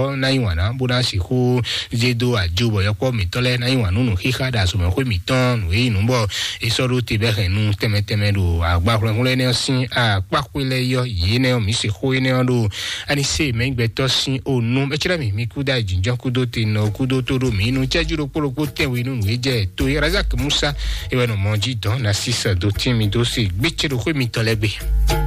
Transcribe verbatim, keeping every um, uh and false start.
ɔ́ ná yí wǎn ná bó ná sixú zé dó ajo bɔ yɔkpɔ́ mǐtɔn lɛ́ɛ ná yí wǎn nú nǔxíxá ɖo azɔ̌mɛxwé mǐtɔn nǔ e nyí nǔ bɔ è sɔ́ ɖó te bɔ é hɛn nú tɛnmɛ tɛnmɛ ɖo agbahwlɛ́nhwlɛ́n énɛ́ ɔ́ sín akpáxwé lɛ́ɛ yí ɔ́, yě énɛ́ ɔ́, mǐ sixú énɛ́ ɔ́ ɖo ani se mɛ̌gbɛtɔ́ sín o nú mɛ cɛ́ mǐ kúdó jǐnjɔ́n kúdó te nɔ kúdó tó ɖó mǐ nu cɛ́jú ɖokpó ɖokpó tɛnwe nú nǔ e jɛ to é Razak Musa é wɛ nɔ mɔ jí dɔn na sísɛ dó tín mi dó se gbécé ɖo xwé mitɔn lɛ́ɛ gbe.